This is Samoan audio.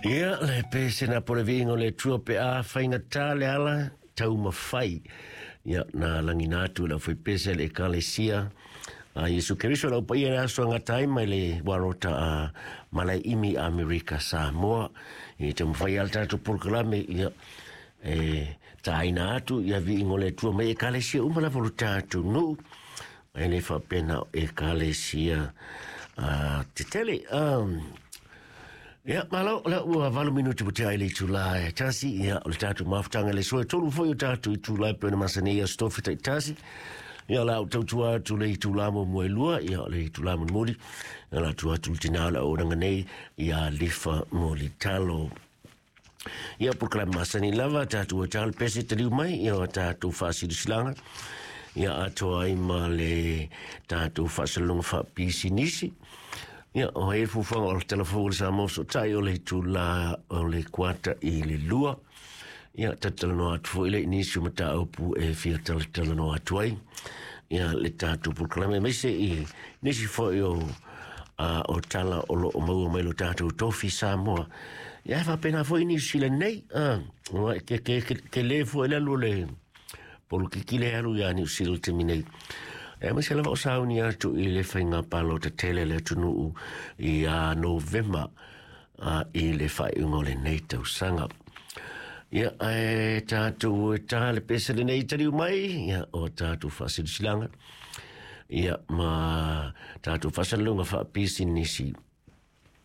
Ia, le pese na po le viiga o le Atua pe a faigata le ala taumafai. Ia, na lagina atu e le aufaipese a le Ekalesia a Iesu Keriso le au paia i le aso e gata ai mai le Warota a Malaeimi Amerika Samoa. Ia taumafai lava le tatou polokalame, ia, e tāina atu ia viiga o le Atua mai Ekalesia uma lava o le tatou nuu. E le faapea na o Ekalesia tetele. Ia, malo, o lea ua 8 minuti ua tea ai le itula e 1, ia, o le tatou mafutaga i le aso e 3 foi o tatou itula e pei ona masani ai aso tofi taitasi. Ia, o le a ou tautua atu le itula muamua e 2, ia, o le itula mulimuli, ia, o le a tuu atu le tinā o le auaunaga nei ia Lifa Mulitalo. Ia, polokalame masani lava, tatou e talo pese taliu mai, ia o tatou faasilasilaga, ia atoa ai ma le tatou faasalaloga faapisinisi. Ia, o ai le fuafuaga o le tala fou o le Samoa Fesootai o le itula o le kuata i le 2. Ia, talatalanoa atu foi le i nisi o mataupu e fia talatalanoa atu ai. Ia, le tatou polokalame aemaise i nisi foi o a o tala o lo o maua mai lo tatou tofi Samoa. Ia, e faapena foi Niu Sila nei, a, ua ke, ke, ke, ke le foi le alu o le polokiki le alu ia Niu Sila i le taimi nei. E aemaise lava o sauni atu i le faiga palota tele a le atunuu ia Novema a, i le faaiuga o lenei tausaga. Ia, ae tatou e tā le pese lenei taliu mai, ia, o tatou faasilasilaga, ia, ma tatou faasalalauga faapisinisi.